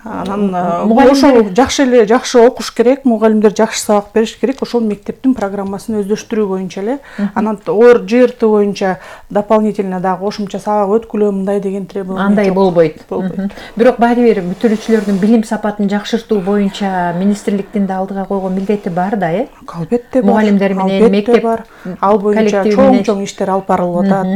Анан ошол жакшы окуш керек, мугалимдер жакшы сабак бериш керек. Ошол мектептин программасын өздөштүрүү боюнча эле. Анан ЖРТ боюнча дополнительно дагы кошумча сабак өткүлөө мындай деген требование андай болбойт. Бирок баары бир бүтүрүүчүлөрдүн билим сапатын жакшыртуу боюнча министрликтин да алдыга койгон милдети бар да, Албетте бар. Мугалимдер менен мектеп бар. Ал боюнча чоң иштер алып барылып атат.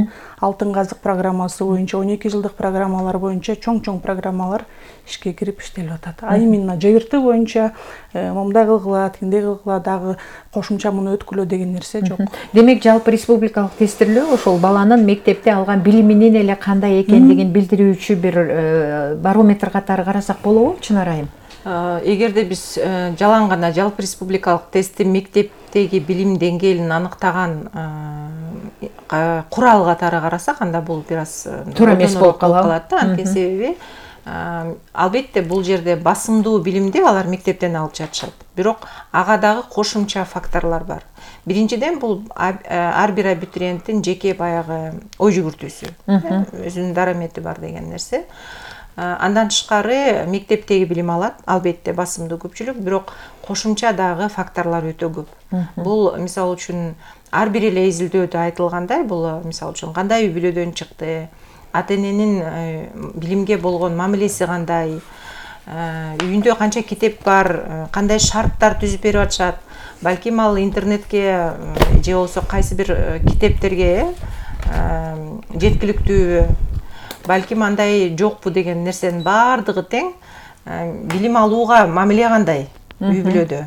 Алтын казык программасы боюнча 12 жылдык программалар боюнча чоң программалар ишке кирип иштелип атат. А именно ЖРТ боюнча момундай кылгыла, тигиндей кылгыла, дагы кошумча муну өткүлөө деген нерсе жок. Демек жалпы республикалык тестирлөө ошол баланын мектепте алган билиминин эле кандай экендигин билдирүүчү бир барометр катары карасак болобу, Чынар айым? Эгерде биз жалаң гана жалпы республикалык тестти мектептеги билим деңгээлин аныктаган курал катары карасак, анда бул бир аз туура эмес болуп калат да. Анткени себеби албетте бул жерде басымдуу билимди алар мектептен алып жатышат. Бирок ага дагы кошумча факторлор бар. Биринчиден бул ар бир абитуриенттин жеке баягы ой жүгүртүүсү, өзүнүн дарамети бар деген нерсе. Андан тышкары мектептеги билим алат, албетте басымдуу көпчүлүк, бирок кошумча дагы факторлор өтө көп. Бул мисалы үчүн ар бир эле изилдөөдө айтылгандай, бул мисалы үчүн кандай үй бүлөдөн чыкты, ата-эненин билимге болгон мамилеси кандай, үйүндө канча китеп бар, кандай шарттар түзүп берип атышат, балким ал интернетке же болбосо кайсы бир китептерге жеткиликтүүбү, балким андай жокпу деген нерсенин баардыгы тең. Билим алууга мамиле кандай үй бүлөдө,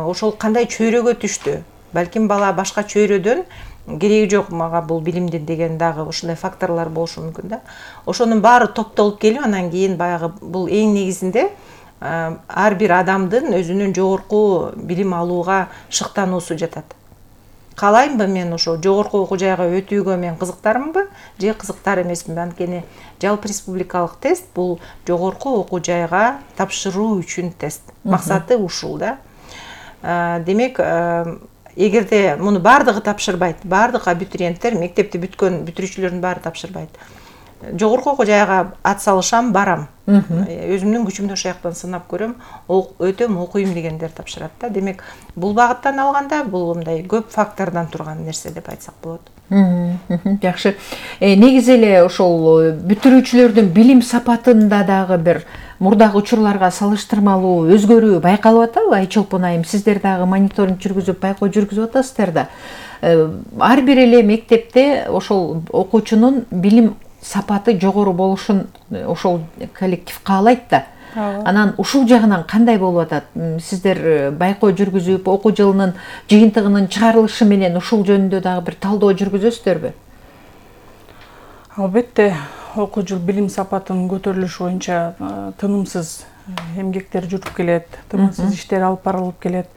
ошол кандай чөйрөгө түштү, балким бала башка чөйрөдөн кереги жок мага бул билимдин деген дагы ушундай факторлор болушу мүмкүн да. Ошонун баары топтолуп келип, анан кийин баягы бул эң негизинде ар бир адамдын өзүнүн жогорку билим алууга шыктануусу жатат. Каалаймынбы мен ошо жогорку окуу жайга өтүүгө мен кызыктармынбы же кызыктар эмесминби? Анткени жалпы республикалык тест бул жогорку окуу жайга тапшыруу үчүн тест. Максаты ушул да. Демек, эгерде муну баардыгы тапшырбайт, баардык абитуриенттер, мектепти бүткөн бүтүрүүчүлөрдүн баары тапшырбайт. Жогорку окуу жайга ат салышам, барам. Өзүмдүн күчүмдү ошол жактан сынап көрөм, өтөм, окуйм дегендер тапшырат да. Демек, бул багыттан алганда бул мындай көп фактордон турган нерсе деп айтсак болот. Жакшы. Негизи эле ошол бүтүрүүчүлөрдүн билим сапатында дагы бир мурдагы учурларга салыштырмалуу өзгөрүү байкалып атабы? Айчолпон айым, сиздер дагы мониторинг жүргүзүп, байкоо жүргүзүп атасыздар да. Ар бир эле мектепте ошол окуучунун билим сапаты жогору болушун ошол коллектив каалайт да. Анан ушул жагынан кандай болуп атат? Сиздер байкоо жүргүзүп, окуу жылынын жыйынтыгынын чыгарылышы менен ушул жөнүндө дагы бир талдоо жүргүзөсүздөрбү? Албетте, окуу жыл билим сапатынын көтөрүлүшү боюнча тынымсыз эмгектер жүрүп келет, тынымсыз иштер алып барылып келет.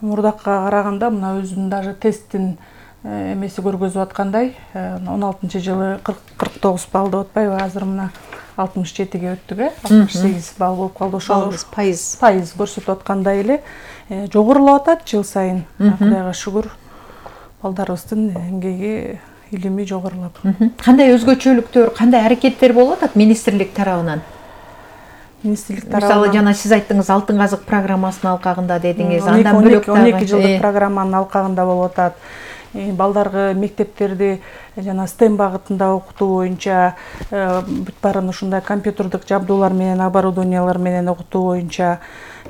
Мурдакка караганда мына өзүнүн даже тесттин эмеси көргөзүп аткандай, 16-жылы 49 балл деп атпайбы, азыр мына 67-ге өттүк, 68 балл болуп калды. Ошол пайыз көрсөтүп аткандай эле жогорулап атат жыл сайын. Кудайга шүгүр, балдарыбыздын эмгеги, илими жогорулап. Кандай өзгөчөлүктөр, кандай аракеттер болуп атат министрлик тарабынан? Мисалы жана сиз айттыңыз, алтын казык программасынын алкагында дедиңиз, андан бөлөк 12 жылдык программанын алкагында болуп атат. Балдарга мектептерди жана STEM багытында окутуу боюнча бүт баарын ушундай компьютердик жабдуулар менен, оборудованиялар менен окутуу боюнча,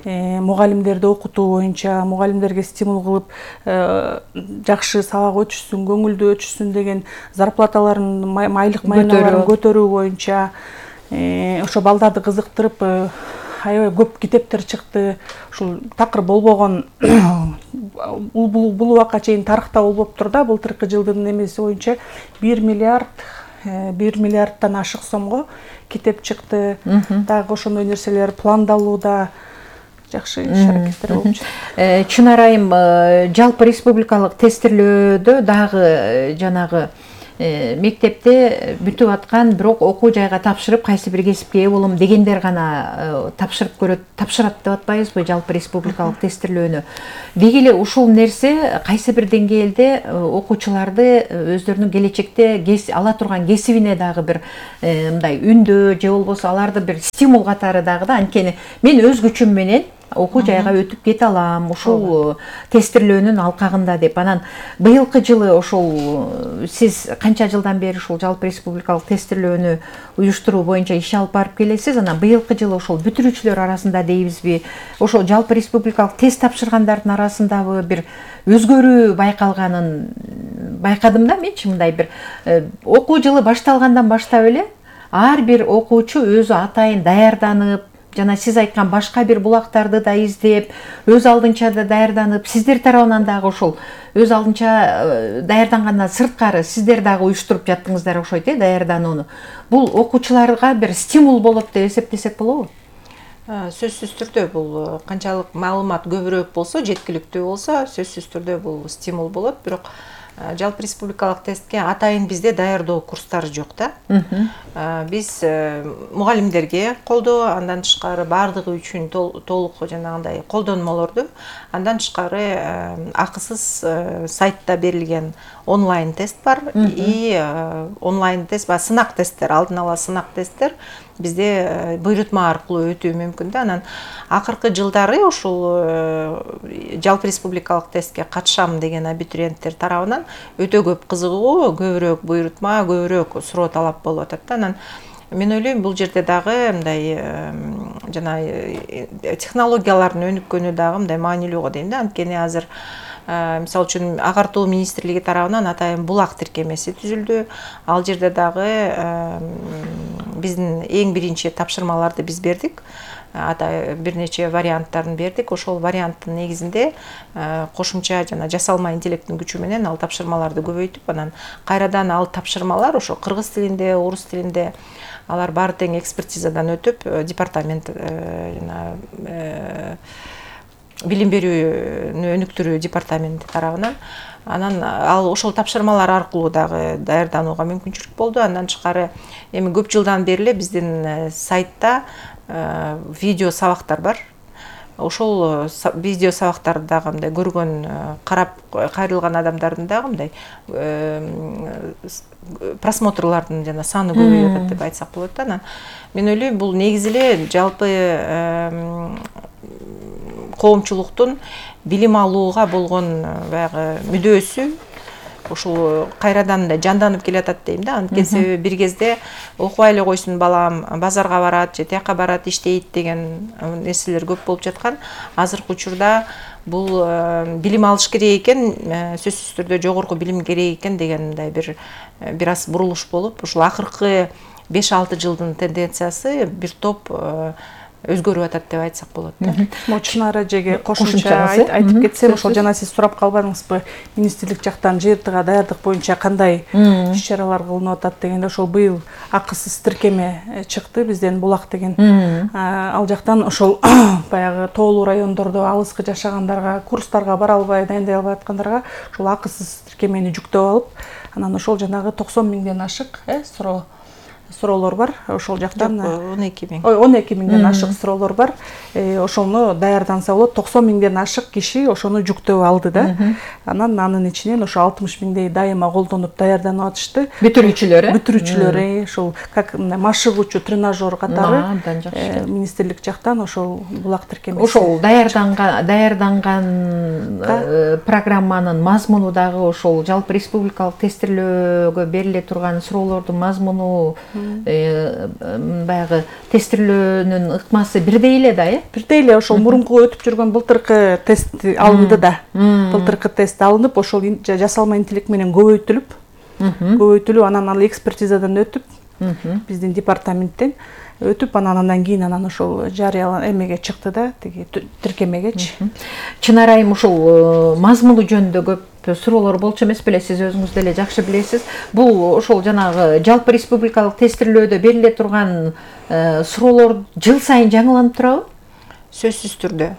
мугалимдерди окутуу боюнча, мугалимдерге стимул кылып жакшы сабак өтүшсүн, көңүлдүү өтүшсүн деген зарплаталарын, айлык майналарын көтөрүү боюнча, ошо балдарды кызыктырып, аябай көп китептер чыкты. Ушул такыр болбогон бул убакка чейин тарыхта болбоптур да, былтыркы жылдын эмеси боюнча 1 миллиардтан ашык сомго китеп чыкты. Дагы ошондой нерселер пландалууда, жакшы иш-аракеттер болуп жатат. Чынар айым, жалпы республикалык тестирлөөдө дагы жанагы мектепте бүтүп аткан, бирок окуу жайга тапшырып кайсы бир кесипке ээ болом дегендер гана тапшырат деп атпайбызбы жалпы республикалык тестирлөөнү. Деги эле ушул нерсе кайсы бир деңгээлде окуучуларды өздөрүнүн келечекте ала турган кесибине дагы бир мындай үндөө же болбосо аларды бир стимул катары дагы да, анткени мен өз күчүм менен окуу жайга өтүп кете алам ушул тестирлөөнүн алкагында деп. Анан быйылкы жылы ошол сиз канча жылдан бери ушул жалпы республикалык тестирлөөнү уюштуруу боюнча иш алып барып келесиз. Анан быйылкы жылы ошол бүтүрүүчүлөр арасында дейбизби, ошол жалпы республикалык тест тапшыргандардын арасындагы бир өзгөрүү байкалганын байкадым да менчи. Мындай бир окуу жылы башталгандан баштап эле ар бир окуучу өзү атайын даярданып, жана сиз айткан башка бир булактарды да издеп, өз алдынча да даярданып, сиздер тарабынан дагы ошол өз алдынча даярдангандан сырткары сиздер дагы уюштуруп жаттыңыздар окшойт, даярданууну. Бул окуучуларга бир стимул болот деп эсептесек болобу? Сөзсүз түрдө бул канчалык маалымат көбүрөөк болсо, жеткиликтүү болсо, сөзсүз түрдө бул стимул болот. Бирок жалпы республикалык тестке атайын бизде даярдоо курстары жок да. Биз мугалимдерге колдоо, андан тышкары баардыгы үчүн толук жанагындай колдонмолорду, андан тышкары акысыз сайтта берилген онлайн тест бар. И онлайн тест, сынак тесттер, алдын ала сынак тесттер бизде буйрутма аркылуу өтүү мүмкүн да. Анан акыркы жылдары ушул жалпы республикалык тестке катышам деген абитуриенттер тарабынан өтө көп кызыгуу, көбүрөөк буйрутма, көбүрөөк суроо талап болуп атат да. Анан мен ойлойм бул жерде дагы мындай жана технологиялардын өнүккөнү дагы мындай маанилүү го дейм да. Анткени азыр мисалы үчүн агартуу министрлиги тарабынан атайын булак тиркемеси түзүлдү. Ал жерде дагы биздин эң биринчи тапшырмаларды биз бердик. Бир нече варианттарын бердик. Ошол варианттын негизинде кошумча жана жасалма интеллекттин күчү менен ал тапшырмаларды көбөйтүп, анан кайрадан ал тапшырмалар ошо кыргыз тилинде, орус тилинде алар баары тең экспертизадан өтүп, департамент жана билим берүүнү өнүктүрүү департаменти тарабынан анан ал ошол тапшырмалар аркылуу дагы даярданууга мүмкүнчүлүк болду. Андан тышкары эми көп жылдан бери эле биздин сайтта видео сабактар бар. Ошол видео сабактарды дагы мындай көргөн, карап кайрылган адамдардын дагы мындай просмотрлардын жана саны көбөйүп атат деп айтсак болот да. Анан мен ойлойм бул негизи эле жалпы коомчулуктун билим алууга болгон баягы мүдөөсү ушул кайрадан мындай жанданып келатат дейм да. Анткени себеби бир кезде окубай эле койсун балам, базарга барат же тияка барат, иштейт деген нерселер көп болуп жаткан. Азыркы учурда бул билим алыш керек экен, сөзсүз түрдө жогорку билим керек экен деген мындай бир аз бурулуш болуп, ушул акыркы 5-6 жылдын тенденциясы бир топ өзгөрүп атат деп айтсак болот да. Чынара эжеге кошумча айтып кетсем, ошол жана сиз сурап калбадыңызбы, министрлик жактан ЖРТга даярдык боюнча кандай иш-чаралар кылынып атат дегенде, ошол быйыл акысыз тиркеме чыкты бизден Булак деген. Ал жактан ошол баягы тоолуу райондордо алыскы жашагандарга, курстарга бара албай, дайындай албай аткандарга ошол акысыз тиркемени жүктөп алып, анан ошол жанагы 90 миңден ашык суроолор бар. Ошол жактан 12 миң. 12 миңден ашык суроолор бар. Ошону даярданса болот. 90 миңден ашык киши ошону жүктөп алды да. Анан анын ичинен ошо 60 миңдей дайыма колдонуп даярданып атышты. Бүтүрүүчүлөр, ошол как машыгуучу тренажер катары министрлик жактан ошол Булак тиркемеси. Ошол даярданган программанын мазмуну дагы ошол жалпы республикалык тестирлөөгө бериле турган суроолордун мазмуну баягы тестирлөөнүн ыкмасы бирдей эле да, бирдей эле ошол мурунку өтүп жүргөн былтыркы тест алынды да. Былтыркы тест алынып, ошол жасалма интеллект менен көбөйтүлүп, анан ал экспертизадан өтүп, биздин департаменттен өтүп, анан кийин ошол жарыялан эмеге чыкты да, тиги тиркемегечи. Чынар айым, ошол мазмуну жөнүндө көп суроолор болчу эмес беле, сиз өзүңүз деле жакшы билесиз. Бул ошол жанагы жалпы республикалык тестирлөөдө бериле турган суроолор жыл сайын жаңыланып турабы? Сөзсүз түрдө.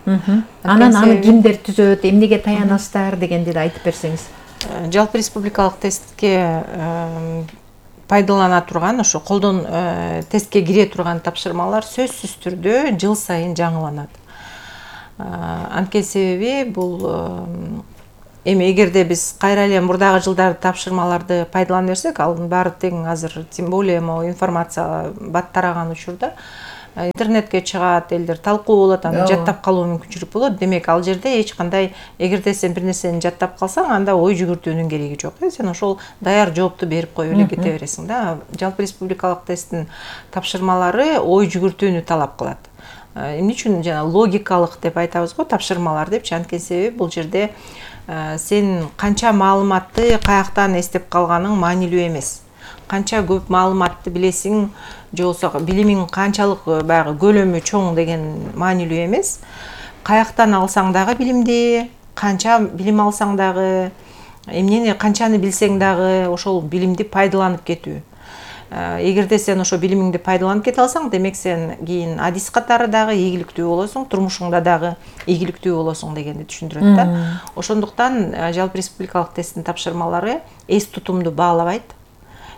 Анан аны кимдер түзөт, эмнеге таянасыздар дегенди да айтып берсеңиз. жалпы республикалык тестке пайдалана турган ошо тестке кире турган тапшырмалар сөзсүз түрдө жыл сайын жаңыланат. Анткени себеби бул эми эгерде биз кайра эле мурдагы жылдары тапшырмаларды пайдалана берсек, алардын баары тең азыр тем более информация бат тараган учурда интернетке чыгат, элдер талкуу болот, аны жаттап калуу мүмкүнчүлүк болот. Демек ал жерде эч кандай, эгерде сен бир нерсени жаттап калсаң, анда ой жүгүртүүнүн кереги жок. Сен ошол даяр жоопту берип коюп эле кете бересиң да. Жалпы республикалык тесттин тапшырмалары ой жүгүртүүнү талап кылат. Эмне үчүн жана логикалык деп айтабыз го тапшырмалар депчи, анткени себеби бул жерде сен канча маалыматты каяктан эстеп калганың маанилүү эмес. Канча көп маалыматты билесиң, же болбосо билимиң канчалык баягы көлөмү чоң деген маанилүү эмес. Каяктан алсаң дагы билимди, канча билим алсаң дагы, эмнени канчаны билсең дагы ошол билимди пайдаланып кетүү. Эгерде сен ошо билимиңди пайдаланып кете алсаң, демек сен кийин адис катары дагы ийгиликтүү болосуң, турмушуңда дагы ийгиликтүү болосуң дегенди түшүндүрөт да. Ошондуктан жалпы республикалык тесттин тапшырмалары эс тутумду баалабайт,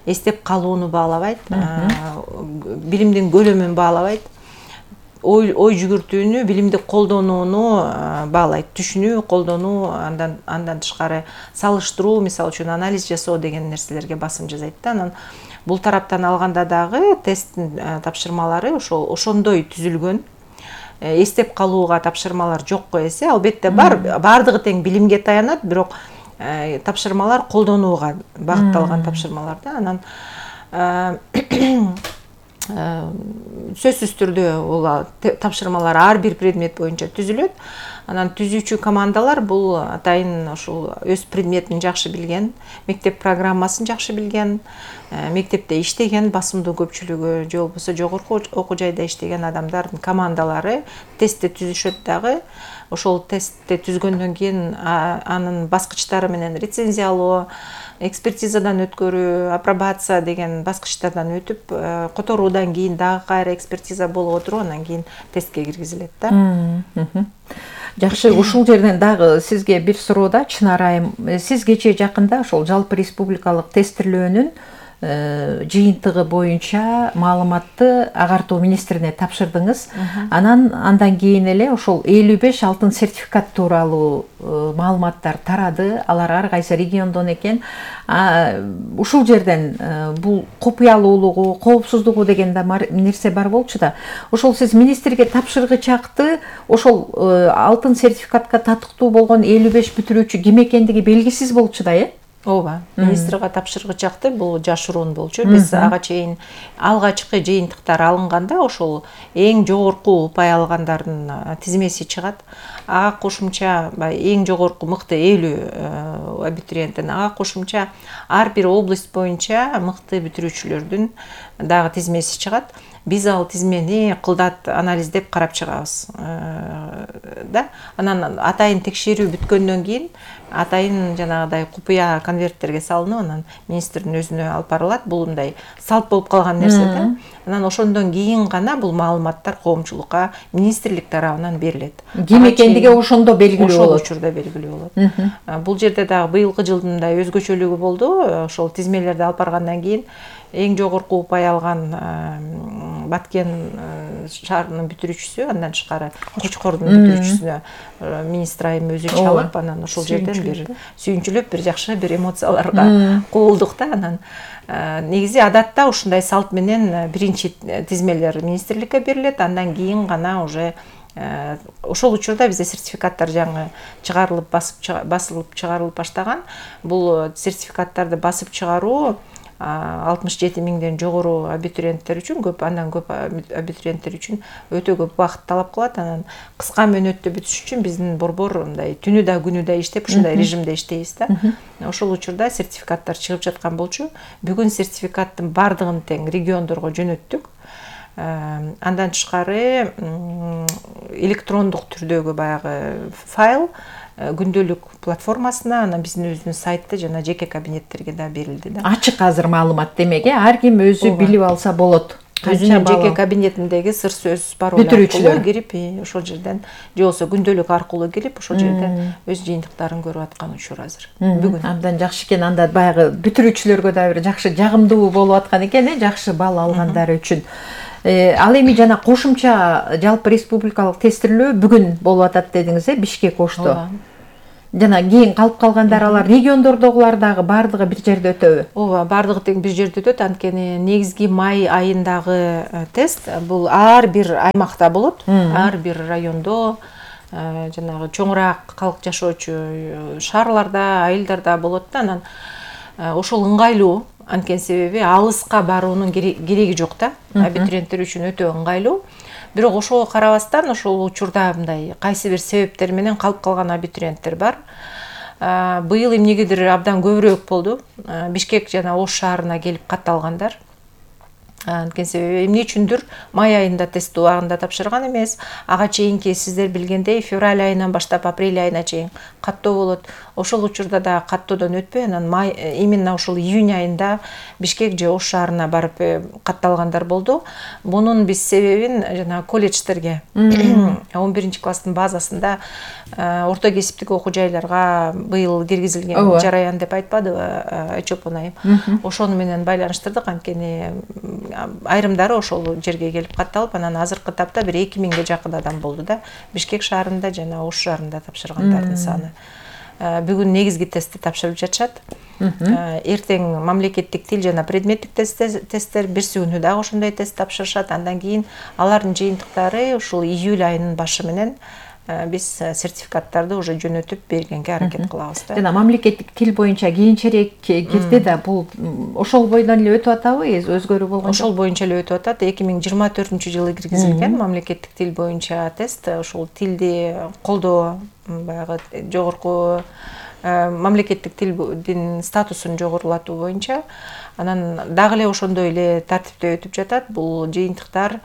эстеп калууну баалабайт, билимдин көлөмүн баалабайт, ой жүгүртүүнү, билимди колдонууну баалайт, түшүнүү, колдонуу, андан тышкары салыштыруу, мисалы үчүн анализ жасоо деген нерселерге басым жасайт да. Анан бул тараптан алганда дагы тесттин тапшырмалары ошондой түзүлгөн. Эстеп калууга тапшырмалар жокко эсе, албетте бардыгы тең билимге таянат, бирок тапшырмалар колдонууга багытталган тапшырмалар да. Анан сөзсүз түрдө бул тапшырмалар ар бир предмет боюнча түзүлөт. Анан түзүүчү командалар бул атайын ошол өз предметин жакшы билген, мектеп программасын жакшы билген, мектепте иштеген, басымдуу көпчүлүгү же болбосо жогорку окуу жайда иштеген адамдардын командалары тестти түзүшөт дагы. Ошол тестти түзгөндөн кийин анын баскычтары менен рецензиялоо, экспертизадан өткөрүү, апробация деген баскычтардан өтүп, которуудан кийин дагы кайра экспертиза болуп отуруп, анан кийин тестке киргизилет да. Жакшы, ушул жерден дагы сизге бир суроо да, Чынар айым. Сиз кечээ жакында ошол жалпы республикалык тестирлөөнүн жыйынтыгы боюнча маалыматты агартуу министрине тапшырдыңыз. Андан кийин эле ошол 55 алтын сертификат тууралуу маалыматтар тарады. Алар ар кайсы региондон экен. Ушул жерден бул купуялуулугу, коопсуздугу деген да нерсе бар болчу да. Ошол сиз министрге тапшыргычакты ошол алтын сертификатка татыктуу болгон 55 бүтүрүүчү ким экендиги белгисиз болчу да, Ооба, министрге тапшыргычакты бул жашыруун болчу. Биз ага чейин алгачкы жыйынтыктар алынганда ошол эң жогорку упай алгандардын тизмеси чыгат. Ага кошумча эң жогорку мыкты 50 абитуриенттин, ага кошумча ар бир область боюнча мыкты бүтүрүүчүлөрдүн дагы тизмеси чыгат. Биз ал тизмени кылдат анализдеп карап чыгабыз да. Анан атайын текшерүү бүткөндөн кийин атайын жанагыдай купуя конверттерге салынып, анан министрдин өзүнө алып барылат. Бул мындай салт болуп калган нерсе да. Анан ошондон кийин гана бул маалыматтар коомчулукка министрлик тарабынан берилет. Ким экендиги ошондо белгилүү болот. Ошол учурда белгилүү болот. Бул жерде дагы быйылкы жылдын да өзгөчөлүгү болду. Ошол тизмелерди алып баргандан кийин эң жогорку упай алган Баткен шаарынын бүтүрүүчүсү, андан тышкары Кочкордун бүтүрүүчүсүнө министр айым өзү чалып, анан ошол жерден бир сүйүнчүлөп, бир жакшы бир эмоцияларга куулдук да. Анан негизи адатта ушундай салт менен биринчи тизмелер министрликке берилет, андан кийин гана уже ошол учурда бизде сертификаттар жаңы чыгарылып басылып чыгарылып баштаган. Бул сертификаттарды басып чыгаруу 67 миңден жогору абитуриенттер үчүн андан көп абитуриенттер үчүн өтө көп убакыт талап кылат. Анан кыска мөөнөттө бүтүш үчүн биздин борбор мындай түнү да күнү да иштеп, ушундай режимде иштейбиз да. Ошол учурда сертификаттар чыгып жаткан болчу. Бүгүн сертификаттын бардыгын тең региондорго жөнөттүк. Андан тышкары электрондук түрдөгү баягы файл күндөлүк платформасына, анан биздин өзүбүздүн сайтта жана жеке кабинеттерге да берилди да. Ачык азыр маалымат демек, ар ким өзү билип алса болот. өзүнүн жеке кабинетиндеги сыр сөз пароль аркылуу кирип, ошол жерден же болбосо күндөлүк аркылуу кирип, ошол жерден өз жыйынтыктарын көрүп аткан учур азыр. Бүгүн абдан жакшы экен. Анда баягы бүтүрүүчүлөргө да бир жакшы жагымдуу болуп аткан экен, жакшы балл алгандары үчүн. Ал эми жана кошумча жалпы республикалык тестирлөө бүгүн болуп атат дедиңиз, Бишкек Ошто. Жана кийин калып калгандар алар региондордогулар дагы баардыгы бир жерде өтөбү? Ооба, бардыгы тең бир жерде өтөт. Анткени негизги май айындагы тест бул ар бир аймакта болот, ар бир райондо, жанагы чоңураак калк жашоочу шаарларда, айылдарда болот да. Анан ошол ыңгайлуу, анткени себеби алыска баруунун кереги жок да. Абитуриенттер үчүн өтө ыңгайлуу. Бирок ошого карабастан ошол учурда мындай кайсы бир себептер менен калып калган абитуриенттер бар. Быйыл эмнегедир абдан көбүрөөк болду. Бишкек жана Ош шаарына келип катталгандар. Анткени себеби эмне үчүндүр май айында тест убагында тапшырган эмес. Ага чейинки сиздер билгендей февраль айынан баштап апрель айына чейин каттоо болот. Ошол учурда да каттоодон өтпөй, анан именно ошол июнь айында Бишкек же Ош шаарына барып катталгандар болду. Бунун биз себебин жана колледждерге 11-класстын базасында орто кесиптик окуу жайларга быйыл киргизилген жараян деп айтпадыбы Айчолпон айым? Ошону менен байланыштырдык, анткени айрымдары ошол жерге келип катталып, анан азыркы тапта бир 2000ге жакын адам болду да. Бишкек шаарында жана Ош шаарында тапшыргандардын саны. Бүгүн негизги тестти тапшырып жатышат. Эртең мамлекеттик тил жана предметтик тесттер, берси күнү дагы ошондой тест тапшырышат. Андан кийин алардын жыйынтыктары ушул июль айынын башы менен биз сертификаттарды уже жөнөтүп бергенге аракет кылабыз да. Жана мамлекеттик тил боюнча кийинчерээк кирди да, бул ошол бойдон эле өтүп атабы, өзгөрүү болгон? Ошол боюнча эле өтүп атат. 2024-жылы киргизилген мамлекеттик тил боюнча тест, ошол тилди колдоо, баягы жогорку мамлекеттик тилдин статусун жогорулатуу боюнча, анан дагы эле ошондой эле тартипте өтүп жатат. Бул жыйынтыктар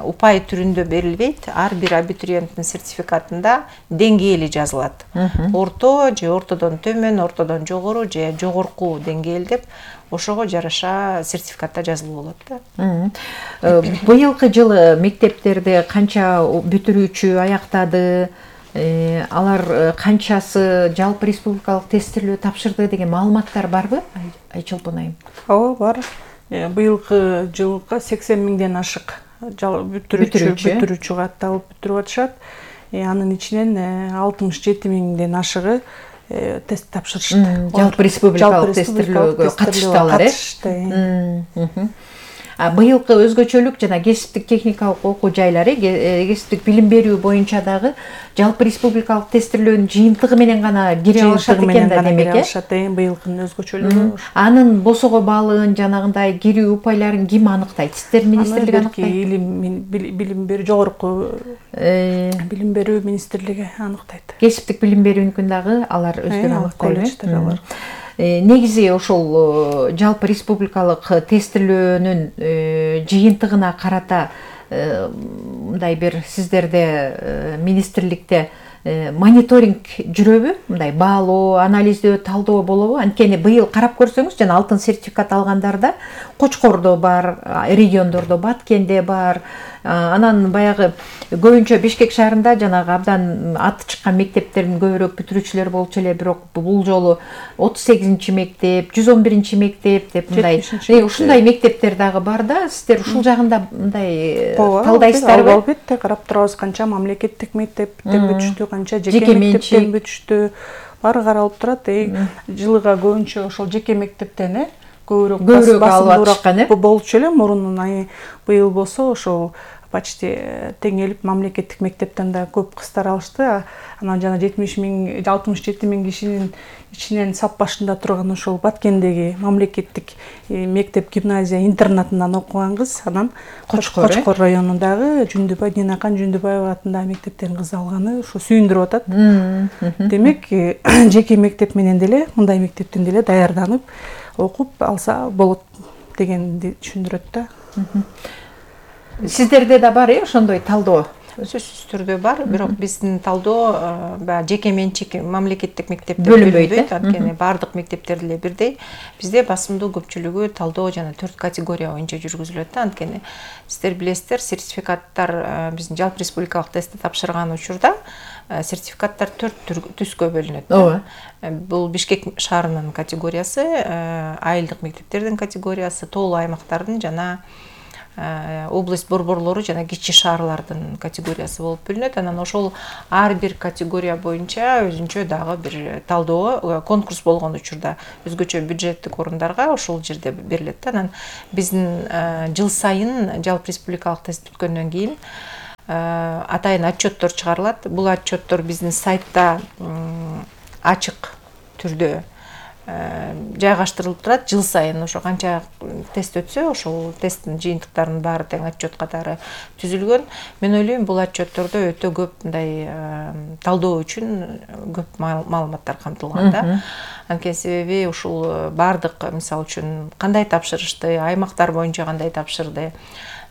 упай түрүндө берилбейт. Ар бир абитуриенттин сертификатында деңгээли жазылат. Орто же ортодон төмөн, ортодон жогору же жогорку деңгээл деп ошого жараша сертификатта жазылуу болот да. Быйылкы жылы мектептерде канча бүтүрүүчү аяктады? Алар канчасы жалпы республикалык тестирлөө тапшырды деген маалыматтар барбы, Айчолпон айым? Ооба, бар. Быйылкы жылга 80 миңден ашык бүтүрүүчү катталып бүтүрүп атышат. Анын ичинен 67 миңден ашыгы тест тапшырышты. Жалпы республикалык тестирлөөгө катышты алар. Быйылкы өзгөчөлүк жана кесиптик техникалык окуу жайлары, кесиптик билим берүү боюнча дагы жалпы республикалык тестирлөөнүн жыйынтыгы менен гана кире алышат экен да, демек. Быйылкынын өзгөчөлүгү. Анын босого балын, жанагындай кирүү упайларын ким аныктайт? Сиздер министрлик аныктайт? Билим берүү, жогорку билим берүү министрлиги аныктайт. Кесиптик билим берүүнүкүн дагы алар өздөрү аныктайбы? Негизи ошол жалпы республикалык тестирлөөнүн жыйынтыгына карата мындай бир сиздерде министрликте мониторинг жүрөбү? Мындай баалоо, анализдөө, талдоо болобу? Анткени быйыл карап көрсөңүз, жана алтын сертификат алгандарда Кочкордо бар, региондордо Баткенде бар, анан баягы көбүнчө Бишкек шаарында жанагы абдан аты чыккан мектептердин көбүрөөк бүтүрүүчүлөр болчу эле, бирок бул жолу 38 мектеп, 111 мектеп деп мындай ушундай мектептер дагы бар да. Сиздер ушул жагында мындай талдайсыздарбы? Албетте карап турабыз, канча мамлекеттик мектептен бүтүштү, канча жеке мектептен бүтүштү, баары каралып турат. Жылыга көбүнчө ошол жеке мектептен көбүрөөк алып атышкан болчу эле мурунун. Быйыл болсо ошол почти теңелип мамлекеттик мектептен да көп кыздар алышты. Анан жана 67 миң кишинин ичинен сап башында турган ошол Баткендеги мамлекеттик мектеп гимназия интернатынан окуган кыз, анан Кочкор районундагы Динакан Жүндүбаева атындагы мектептен кыз алганы ошо сүйүндүрүп атат. Демек, жеке мектеп менен деле, мындай мектептен деле даярданып окуп алса болот дегенди түшүндүрөт да. Сиздерде да бар ошондой талдоо? сөзсүз түрдө бар, бирок биздин талдоо баягы жеке менчик мамлекеттик мектептер бөлүнбөйт, анткени баардык мектептер деле бирдей. Бизде басымдуу көпчүлүгү талдоо жана 4 категория боюнча жүргүзүлөт да, анткени сиздер билесиздер, сертификаттар биздин жалпы республикалык тестти тапшырган учурда сертификаттар 4 түскө бөлүнөт. Бул Бишкек шаарынын категориясы, айылдык мектептердин категориясы, тоолуу аймактардын жана область борборлору жана кичи шаарлардын категориясы болуп бөлүнөт. Анан ошол ар бир категория боюнча өзүнчө дагы бир талдоо, конкурс болгон учурда өзгөчө бюджеттик орундарга ошол жерде берилет да. Анан биздин жыл сайын жалпы республикалык тест бүткөндөн кийин атайын отчеттор чыгарылат. Бул отчеттор биздин сайтта ачык түрдө жайгаштырылып турат. Жыл сайын ошо канча тест өтсө, ошол тесттин жыйынтыктарынын баары тең отчет катары түзүлгөн. Мен ойлойм, бул отчеттордо өтө көп мындай талдоо үчүн көп маалыматтар камтылган да. Анткени себеби ушул баардык, мисалы үчүн, кандай тапшырышты, аймактар боюнча кандай тапшырды,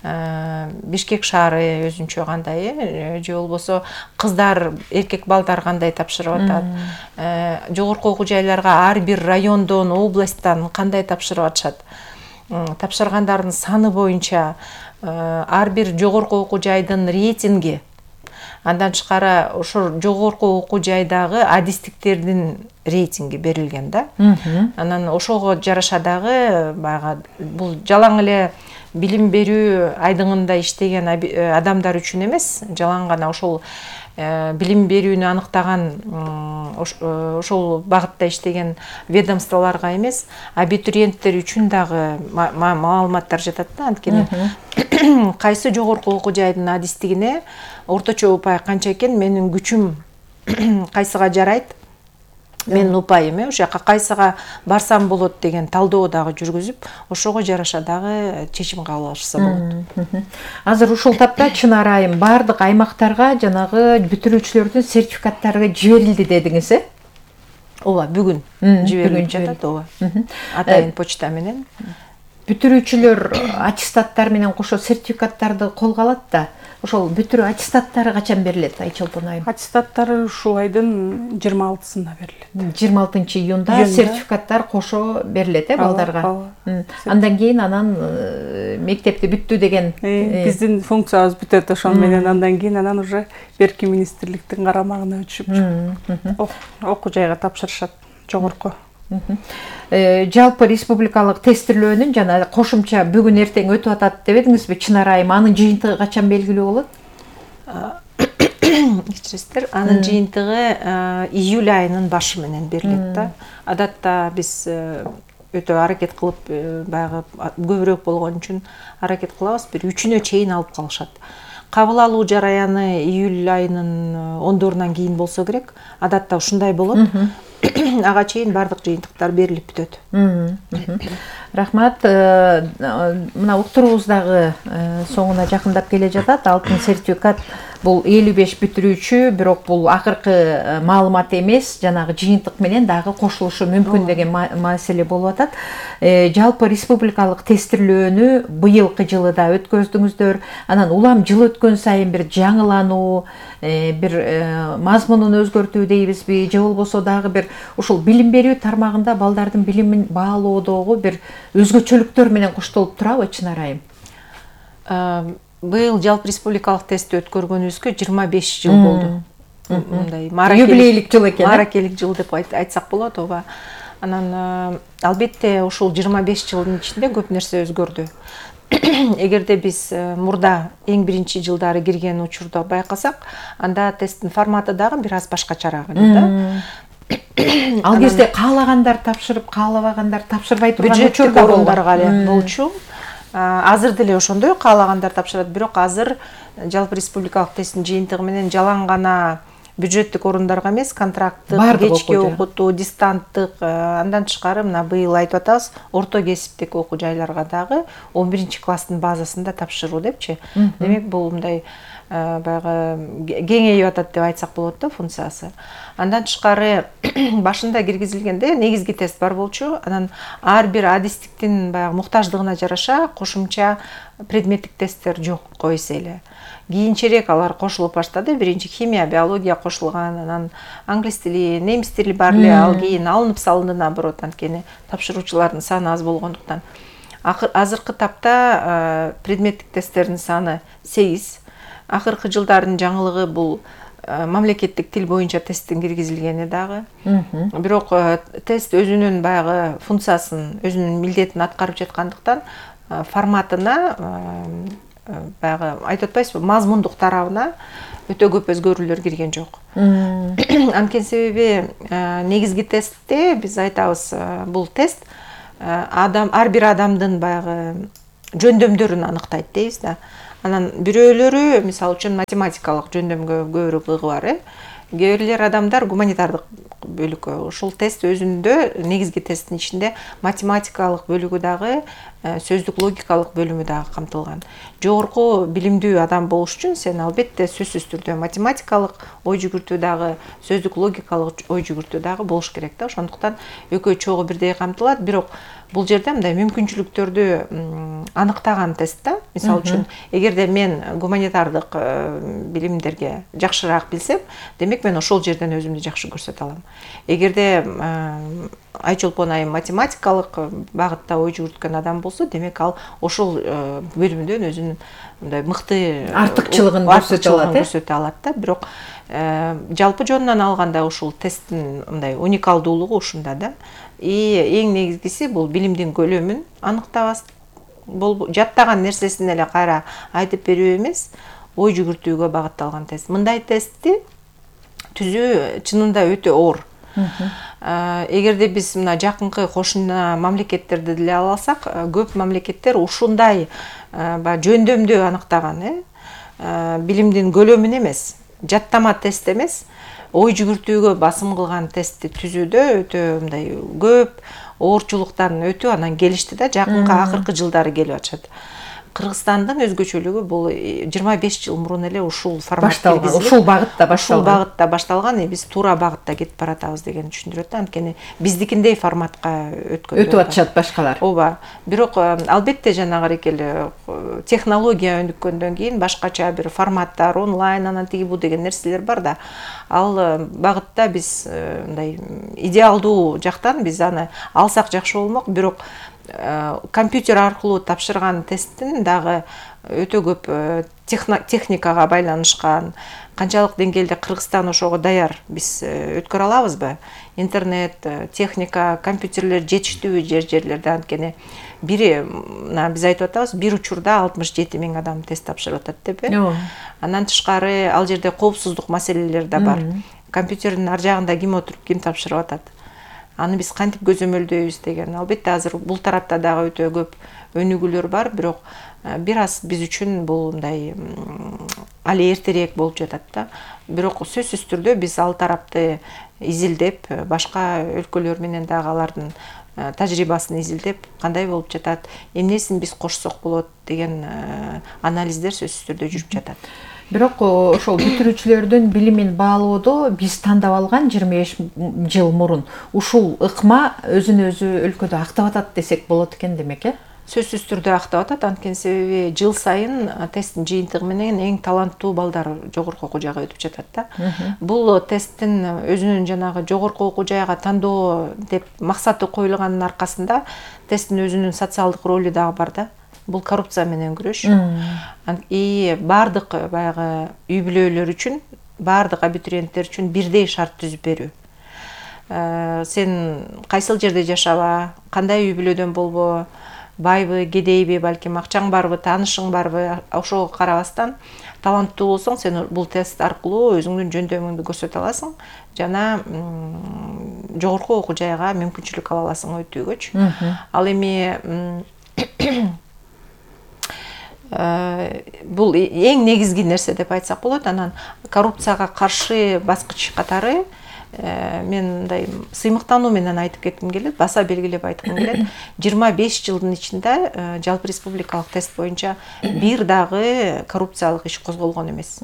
Бишкек шаары өзүнчө кандай, же болбосо кыздар, эркек балдар кандай тапшырып атат, жогорку окуу жайларга ар бир райондон, областтан кандай тапшырып атышат, тапшыргандардын саны боюнча ар бир жогорку окуу жайдын рейтинги, андан тышкары ошол жогорку окуу жайдагы адистиктердин рейтинги берилген да. Анан ошого жараша дагы баягы бул жалаң эле билим берүү айдыңында иштеген адамдар үчүн эмес, жалаң гана ошол билим берүүнү аныктаган ошол багытта иштеген ведомстволорго эмес, абитуриенттер үчүн дагы маалыматтар жатат да. Анткени кайсы жогорку окуу жайдын адистигине орточо упай канча экен, менин күчүм кайсыга жарайт, менин упайым ошол жака кайсыга барсам болот деген талдоо дагы жүргүзүп, ошого жараша дагы чечим кабыл алышса болот. Азыр ушул тапта Чынар айым баардык аймактарга жанагы бүтүрүүчүлөрдүн сертификаттары жиберилди дедиңиз, Ооба, бүгүн жиберилип жатат, ооба. Атайын почта менен. Бүтүрүүчүлөр аттестаттар менен кошо сертификаттарды колго алат да. Ошол бүтүрүү аттестаттары качан берилет, Айчолпон айым? Аттестаттары ушул айдын 26-сында берилет. 26 июнда сертификаттар кошо берилет, балдарга. Андан кийин анан мектепти бүттү деген биздин функциябыз бүтөт, ошон менен андан кийин анан уже берки министрликтин карамагына өтүшүп окуу жайга тапшырышат, жогорку. Жалпы республикалык тестирлөөнүн жана кошумча бүгүн эртең өтүп атат деп эдиңизби, Чынар айым? Анын жыйынтыгы качан белгилүү болот? Кечиресиздер, анын жыйынтыгы июль айынын башы менен берилет да. Адатта биз өтө аракет кылып, баягы көбүрөөк болгон үчүн аракет кылабыз, бир 3-үнө чейин алып калышат. Кабыл алуу жараяны июль айынын 10-дорунан кийин болсо керек. Адатта ушундай болот. Ага чейин баардык жыйынтыктар берилип бүтөт. Рахмат. Мына уктуруубуз дагы соңуна жакындап келе жатат. Алтын сертификат бул 55 бүтүрүүчү, бирок бул акыркы маалымат эмес, жанагы жыйынтык менен дагы кошулушу мүмкүн деген маселе болуп атат. Жалпы республикалык тестирлөөнү быйылкы жылы да өткөздүңүздөр. Анан улам жыл өткөн сайын бир жаңылануу, бир мазмунун өзгөртүү дейбизби, же болбосо дагы бир ушул билим берүү тармагында балдардын билимин баалоодогу бир өзгөчөлүктөр менен коштолуп турабы, Чынар айым? Быйыл жалпы республикалык тестти өткөргөнүбүзгө 25 жыл болду. Мындай юбилейлик жыл экен. Маракелик жыл деп айтсак болот, ооба. Анан албетте ушул 25 жылдын ичинде көп нерсе өзгөрдү. Эгерде биз мурда эң биринчи жылдары кирген учурда байкасак, анда тесттин форматы дагы бир аз башкачараак эле да. Ал кезде каалагандар тапшырып, каалабагандар тапшырбай турган учур да орундарга эле болчу. Азыр деле ошондой каалагандар тапшырат, бирок азыр жалпы республикалык тесттин жыйынтыгы менен жалаң гана бюджеттик орундарга эмес, контракттык, кечки окутуу, дистанттык, андан тышкары мына быйыл айтып атабыз, орто кесиптик окуу жайларга дагы 11-класстын базасында тапшыруу депчи. Демек бул мындай баягы кеңейип атат деп айтсак болот да функциясы. Андан тышкары башында киргизилгенде негизги тест бар болчу. Анан ар бир адистиктин баягы муктаждыгына жараша кошумча предметтик тесттер жок эсе эле. кийинчерээк алар кошулуп баштады. Биринчи химия, биология кошулган, анан англис тили, немис тили бар эле, ал кийин алынып салынды наоборот, анткени тапшыруучулардын саны аз болгондуктан. Азыркы тапта предметтик тесттердин саны 8. Акыркы жылдардын жаңылыгы бул мамлекеттик тил боюнча тесттин киргизилгени дагы. Бирок тест өзүнүн баягы функциясын, өзүнүн милдетин аткарып жаткандыктан форматына, баягы айтып атпайсызбы, мазмундук тарабына өтө көп өзгөрүүлөр кирген жок. Анткени себеби негизги тестте биз айтабыз, бул тест ар бир адамдын баягы жөндөмдөрүн аныктайт дейбиз да. Анан бирөөлөрү мисалы үчүн математикалык жөндөмгө көбүрөөк ыгы бар, кээ бирлер адамдар гуманитардык бөлүккө. Ушул тест өзүндө негизги тесттин ичинде математикалык бөлүгү дагы, сөздүк логикалык бөлүмү дагы камтылган. Жогорку билимдүү адам болуш үчүн сен албетте сөзсүз түрдө математикалык ой жүгүртүү дагы, сөздүк логикалык ой жүгүртүү дагы болуш керек да. Ошондуктан экөө чогуу бирдей камтылат. Бирок бул жерде мындай мүмкүнчүлүктөрдү аныктаган тест да. Мисалы үчүн, эгерде мен гуманитардык билимдерге жакшыраак билсем, демек мен ошол жерден өзүмдү жакшы көрсөтө алам. Эгерде Айчолпон айым математикалык багытта ой жүгүрткөн адам болсо, демек ал ошол бөлүмдөн өзүнүн мындай мыкты артыкчылыгын көрсөтө алат да. Бирок жалпы жонунан алганда ушул тесттин мындай уникалдуулугу ушунда да. Эң негизгиси бул билимдин көлөмүн аныктабас. Жаттаган нерсесин эле кайра айтып берүү эмес, ой жүгүртүүгө багытталган тест. Мындай тестти түзүү чынында өтө оор. Эгерде биз мына жакынкы кошуна мамлекеттерди деле ала алсак, көп мамлекеттер ушундай жөндөмдү аныктаган, билимдин көлөмүн эмес, жаттама тест эмес, ой жүгүртүүгө басым кылган тестти түзүүдө өтө мындай көп оорчулуктан өтүп анан келишти да. Жакынкы акыркы жылдары келип атышат. Кыргызстандын өзгөчөлүгү бул 25 жыл мурун эле ушул формат киргизилип, ушул багытта башталган, биз туура багытта кетип баратабыз дегени түшүндүрөт да. Анткени биздикиндей форматка өтүп атышат башкалар. Ооба. Бирок албетте жанагы эле технология өнүккөндөн кийин башкача бир форматтар, онлайн, анан тиги бу деген нерселер бар да. Ал багытта биз мындай идеалдуу жактан биз аны алсак жакшы болмок, бирок компьютер аркылуу тапшырган тесттин дагы өтө көп техникага байланышкан, канчалык деңгээлде Кыргызстан ошого даяр, биз өткөрө алабызбы? Интернет, техника, компьютерлер жетиштүүбү жерлерде? Анткени биз айтып атабыз, бир учурда 67 000 адам тест тапшырып атат деп. Андан тышкары ал жерде коопсуздук маселелери да бар. Компьютердин ар жагында ким отуруп, ким тапшырып атат? Аны биз кантип көзөмөлдөйбүз деген. Албетте азыр бул тарапта дагы өтө көп өнүгүүлөр бар, бирок бир аз биз үчүн бул мындай али эртерээк болуп жатат да. Бирок сөзсүз түрдө биз ал тарапты изилдеп, башка өлкөлөр менен дагы алардын тажрыйбасын изилдеп, кандай болуп жатат, эмнесин биз кошсок болот деген анализдер сөзсүз түрдө жүрүп жатат. Бирок ошол бүтүрүүчүлөрдүн билимин баалоодо биз тандап алган 25 жыл мурун ушул ыкма өзүн өзү өлкөдө актап атат десек болот экен демек, Сөзсүз түрдө актап атат, анткени себеби жыл сайын тесттин жыйынтыгы менен эң таланттуу балдар жогорку окуу жайга өтүп жатат да. Бул тесттин өзүнүн жанагы жогорку окуу жайга тандоо деп максаты коюлганын аркасында тесттин өзүнүн социалдык ролу дагы бар да. Бул коррупция менен күрөш. Бардык баягы үй бүлөлөр үчүн, бардык абитуриенттер үчүн бирдей шарт түзүп берүү. Сен кайсыл жерде жашаба, кандай үй бүлөдөн болбо, байбы, кедейби, балким акчаң барбы, таанышың барбы, ошого карабастан таланттуу болсоң, сен бул тест аркылуу өзүңдүн жөндөмүңдү көрсөтө аласың жана жогорку окуу жайга мүмкүнчүлүк ала аласың өтүүгөчү. Ал эми бул эң негизги нерсе деп айтсак болот. Анан коррупцияга каршы баскыч катары мен мындай сыймыктануу менен айтып кетким келет, баса белгилеп айткым келет. 25 жылдын ичинде жалпы республикалык тест боюнча бир дагы коррупциялык иш козголгон эмес.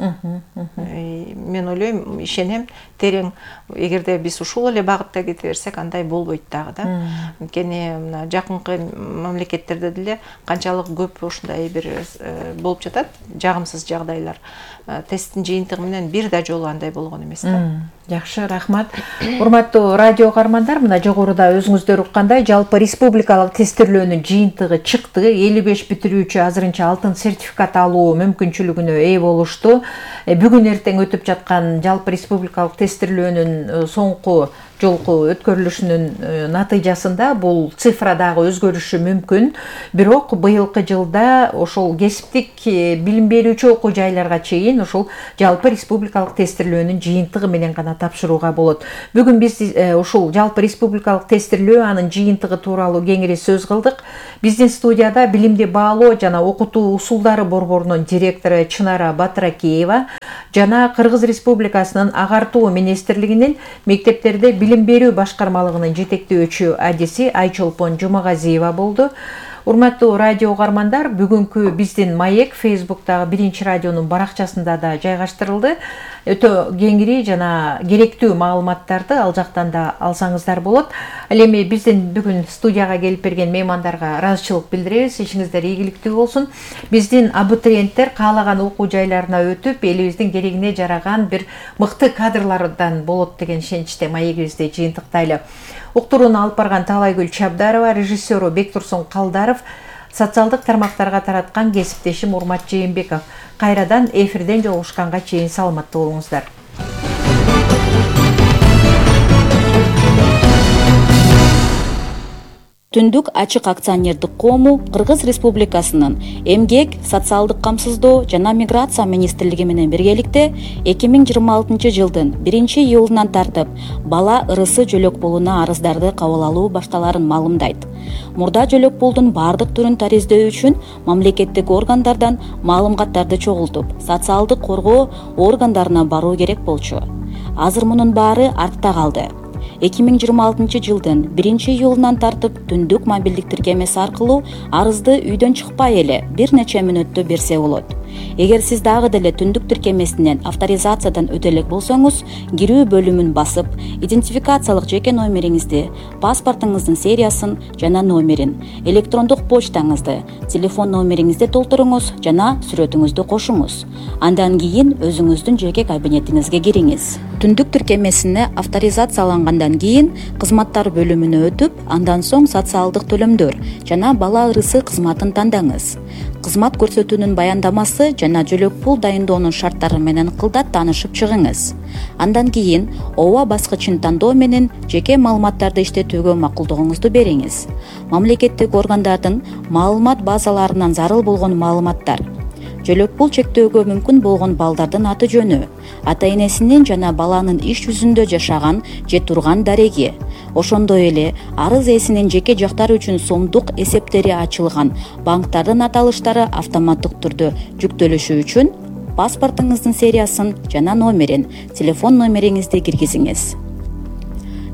Мен ойлойм, ишенем, терең эгерде биз ушул эле багытта кете берсек, андай болбойт дагы да. Анткени мына жакынкы мамлекеттерде деле канчалык көп ушундай бир болуп жатат, жагымсыз жагдайлар. Тесттин жыйынтыгы менен бир да жолу андай болгон эмес да. Жакшы, рахмат. Урматтуу радио каармандар, мына жогоруда өзүңүздөр уккандай, жалпы республикалык тестирлөөнүн жыйынтыгы чыкты. 55 бүтүрүүчү азырынча алтын сертификат алуу мүмкүнчүлүгүнө ээ болушту. Бүгүн эртең өтүп жаткан жалпы республикалык тестирлөөнүн соңку жолку өткөрүлүшүнүн натыйжасында бул цифра дагы өзгөрүшү мүмкүн. Бирок быйылкы жылда ошол кесиптик билим берүүчү окуу жайларга чейин ошол жалпы республикалык тестирлөөнүн жыйынтыгы менен гана тапшырууга болот. Бүгүн биз ушул жалпы республикалык тестирлөө, анын жыйынтыгы тууралуу кеңири сөз кылдык. Биздин студияда билимди баалоо жана окутуу усулдары борборунун директору Чынара Батыракеева жана Кыргыз Республикасынын агартуу министрлигинин мектептерде билим берүү башкармалыгынын жетектөөчү адиси Айчолпон Жумагазиева болду. Урматтуу радио каармандар, бүгүнкү биздин маек Facebooktагы Биринчи радионун баракчасында да жайгаштырылды. Өтө кеңири жана керектүү маалыматтарды ал жактан да алсаңыздар болот. Ал эми биздин бүгүн студияга келип берген меймандарга ыраазычылык билдиребиз. Ишиңиздер ийгиликтүү болсун. Биздин абитуриенттер каалаган окуу жайларына өтүп, элибиздин керегине жараган бир мыкты кадрлардан болот деген ишеничте маегибизди жыйынтыктайлы. Уктурууну алып барган Таалайгүл Чабдарова, режиссеру Бектурсун Калдаров, социалдык тармактарга тараткан кесиптешим Урмат Жээнбеков. Кайрадан эфирден жолугушканга чейин саламаттуу болуңуздар. Түндүк ачык акционердик коому Кыргыз Республикасынын Эмгек, социалдык камсыздоо жана миграция министрлиги менен биргеликте 2026 жылдын 1-июлунан тартып бала ырысы жөлөк пулуна арыздарды кабыл алуу башталарын маалымдайт. Мурда жөлөк пулдун бардык түрүн тариздөө үчүн мамлекеттик органдардан маалыматтарды чогултуп, социалдык коргоо органдарына баруу керек болчу. Азыр мунун баары артта калды. 2026 жылдын 1-июлунан тартып түндүк мобилдик тиркемеси аркылуу арызды үйдөн чыкпай эле бир нече мүнөттө берсе болот. Эгер сиз дагы деле түндүк тиркемесинен авторизациядан өтө элек болсоңуз, кирүү бөлүмүн басып, идентификациялык жеке номериңизди, паспортуңуздун сериясын жана номерин, электрондук почтаңызды, телефон номериңизди толтуруңуз жана сүрөтүңүздү кошуңуз. Андан кийин өзүңүздүн жеке кабинетиңизге кириңиз. Түндүк тиркемесине авторизациялангандан кийин кызматтар бөлүмүнө өтүп, андан соң социалдык төлөмдөр жана бала ырысы кызматын тандаңыз. Кызмат көрсөтүүнүн баяндамасы жана жөлөк пул дайындоонун шарттары менен кылдат таанышып чыгыңыз. Андан кийин ооба баскычын тандоо менен жеке маалыматтарды иштетүүгө макулдугуңузду бериңиз. Мамлекеттик органдардын маалымат базаларынан зарыл болгон маалыматтар, жөлөк пул чектөөгө мүмкүн болгон балдардын аты жөнү, ата энесинин жана баланын иш жүзүндө жашаган же турган дареги, ошондой эле арыз ээсинин жеке жактары үчүн сомдук эсептери ачылган банктардын аталыштары автоматтык түрдө жүктөлүшү үчүн паспортуңуздун сериясын жана номерин, телефон номериңизди киргизиңиз.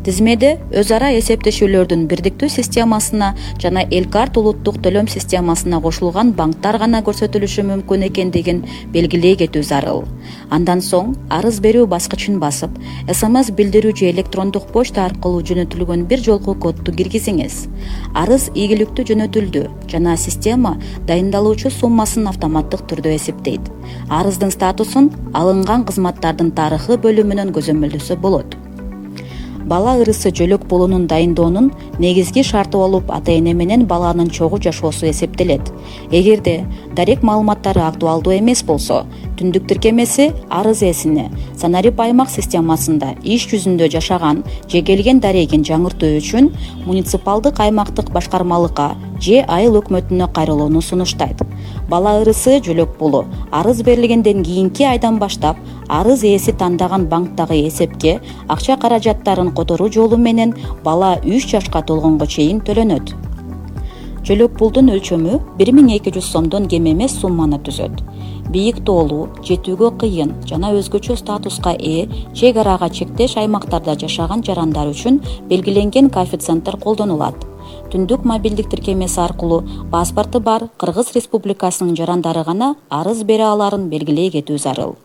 Тизмеде өз ара эсептешүүлөрдүн бирдиктүү системасына жана Элкарт улуттук төлөм системасына кошулган банктар гана көрсөтүлүшү мүмкүн экендигин белгилей кетүү зарыл. Андан соң арыз берүү баскычын басып, СМС билдирүү же электрондук почта аркылуу жөнөтүлгөн бир жолку кодду киргизиңиз. Арыз ийгиликтүү жөнөтүлдү жана система дайындалуучу суммасын автоматтык түрдө эсептейт. Арыздын статусун алынган кызматтардын тарыхы бөлүмүнөн көзөмөлдөсө болот. Бала ырысы жөлөк пулунун дайындоонун негизги шарты болуп ата эне менен баланын чогуу жашоосу эсептелет. Эгерде дарек маалыматтары актуалдуу эмес болсо, түндүк тиркемеси арыз ээсине санарип аймак системасында иш жүзүндө жашаган же келген дарегин жаңыртуу үчүн муниципалдык аймактык башкармалыкка же айыл өкмөтүнө кайрылууну сунуштайт. Бала ырысы жөлөк пулу арыз берилгенден кийинки айдан баштап арыз ээси тандаган банктагы эсепке акча каражаттарын которуу жолу менен бала 3 жашка толгонго чейин төлөнөт. Жөлөк пулдун өлчөмү 1200 сомдон кем эмес сумманы түзөт. бийик тоолуу, жетүүгө кыйын жана өзгөчө статуска ээ чек арага чектеш аймактарда жашаган жарандар үчүн белгиленген коэффициенттер колдонулат. Түндүк мобилдик тиркемеси аркылуу паспорту бар Кыргыз Республикасынын жарандары гана арыз бере аларын белгилей кетүү зарыл.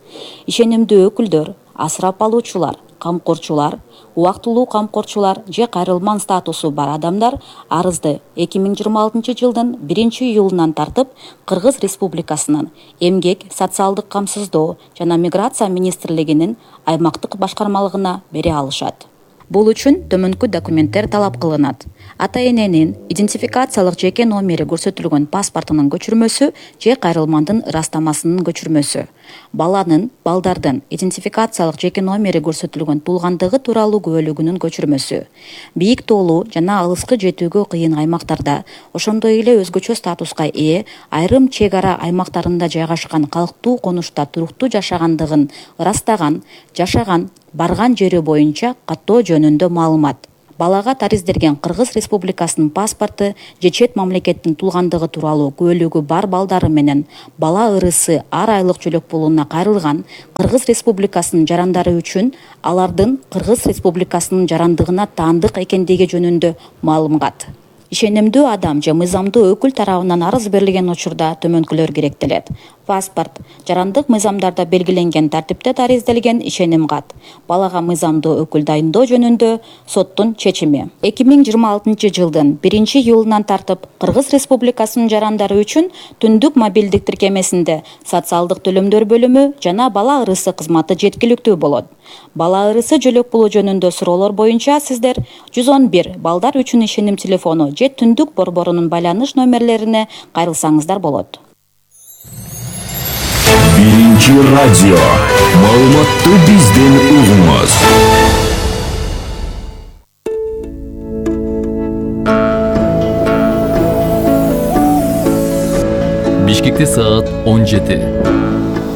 Ишенимдүү өкүлдөр, асырап алуучулар, камкорчулар, убактылуу камкорчулар же кайрылман статусу бар адамдар арызды 2026 жылдын 1-июлунан тартып Кыргыз Республикасынын Эмгек, социалдык камсыздоо жана миграция министрлигинин аймактык башкармалыгына бере алышат. Бул үчүн төмөнкү документтер талап кылынат. Ата-эненин идентификациялык жеке номери көрсөтүлгөн паспортунун көчүрмөсү же кайрылмандын ырастамасынын көчүрмөсү. Балдардын идентификациялык жеке номери көрсөтүлгөн туулгандыгы тууралуу күбөлүгүнүн көчүрмөсү. Бийик тоолуу жана алыскы жетүүгө кыйын аймактарда, ошондой эле өзгөчө статуска ээ айрым чек ара аймактарында жайгашкан калктуу конушта туруктуу жашагандыгын ырастаган, жашаган, барган жери боюнча каттоо жөнүндө маалымат. Балага таризделген Кыргыз Республикасынын паспорту же чет мамлекеттин туулгандыгы тууралуу күбөлүгү бар балдары менен бала ырысы ар айлык жөлөк пулуна кайрылган Кыргыз Республикасынын жарандары үчүн алардын Кыргыз Республикасынын жарандыгына таандык экендиги жөнүндө маалымат. Ишенимдүү адам же мыйзамдуу өкүл тарабынан арыз берилген учурда төмөнкүлөр керектелет. Паспорт, жарандык мыйзамдарда белгиленген тартипте таризделген ишеним кат. Балага мыйзамдуу өкүл дайындоо жөнүндө соттун чечими. 2026 жылдын 1-июлунан тартып Кыргыз Республикасынын жарандары үчүн түндүк мобилдик тиркемесинде социалдык төлөмдөр бөлүмү жана бала ырысы кызматы жеткиликтүү болот. Бала ырысы жөлөк пулу жөнүндө суроолор боюнча сиздер 111 балдар үчүн ишеним телефону же түндүк борборунун байланыш номерлерине кайрылсаңыздар болот. Биринчи радио. Маалыматты бизден угуңуз. Бишкекте саат 17.